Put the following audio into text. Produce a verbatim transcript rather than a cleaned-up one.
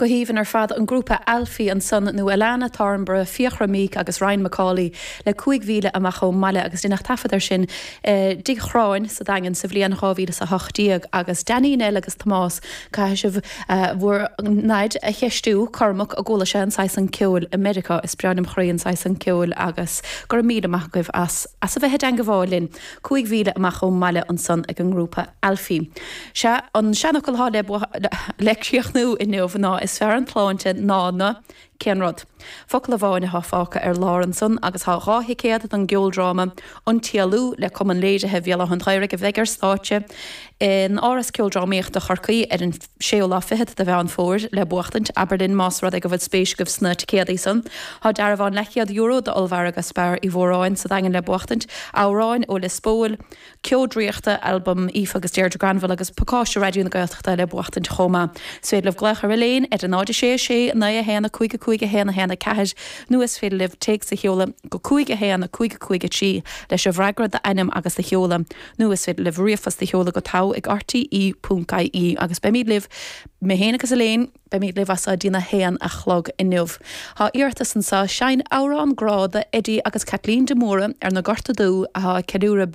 Go haoibhinn ar fad an grúpa Alfie ansan nó Alana Thornborough, Fiachra Meek agus Ryan McCauley le cúig mhíle amach ón mbaile agus deineadh taifead air sin eh, dTigh Chráin sa Daingean sa bhliain dhá mhíle is a hocht déag agus Danny Nell agus Tomás caithfidh sibh eh, bhur nDaid a cheistiú Cormac an gcuala sé an saghas san ceoil i Meiriceá is breá liom chroí an saghas san ceoil agus go raibh míle maith agaibh as as a bheith i dteagmháil linn cúig mhíle amach ón mbaile ansan ag an ngrúpa Alfie. Sé an seanfhocal atá le le críochnú inniu ná is fearr an tsláinte ná na cén rud. Focal amháin atá fágtha ar lár ansan agus tá dhá thicéad don gceoldráma An tÉalú le Cumann Léirithe Bhéal Átha an Ghaorthaidh a bheidh ar stáitse in Áras Ceoldrámaíochta Chorcaí ar an séú lá fichead de Mheán Fómhair le buachtaint abair linn más rud é go bhfuil spéis agaibh sna ticéadaí san. Tá dearbhán leathchéad euro d'ollmhargadh Spar Uí Mhóráin sa Daingean le buachtaint, amhráin ó Lios Póil, Ceo Draíochta, albam Aoife agus Deirdre Granville agus pacáiste Raidió na Gaeltachta le buachtaint chomh maith. Is féidir libh glaoch ar Elaine ar a náid sé sé naoi a haon a cúig a cúig a haon a haon a ceathair nó is féidir libh téacs a sheoladh go cúig a haon a cúig a cúig a trí leis an bhfreagra d'ainm agus do sheoladh nó is féidir libh ríomhphost a sheoladh go togha ag RTE ponc IE agus beimid libh mé féin agus Elaine beimid libh as dtína haon a chlog inniu. Tá iarratas anseo seinn amhrán grá do Eddie agus Kathleen de Móra ar na Gorta Dubh atá ceiliúradh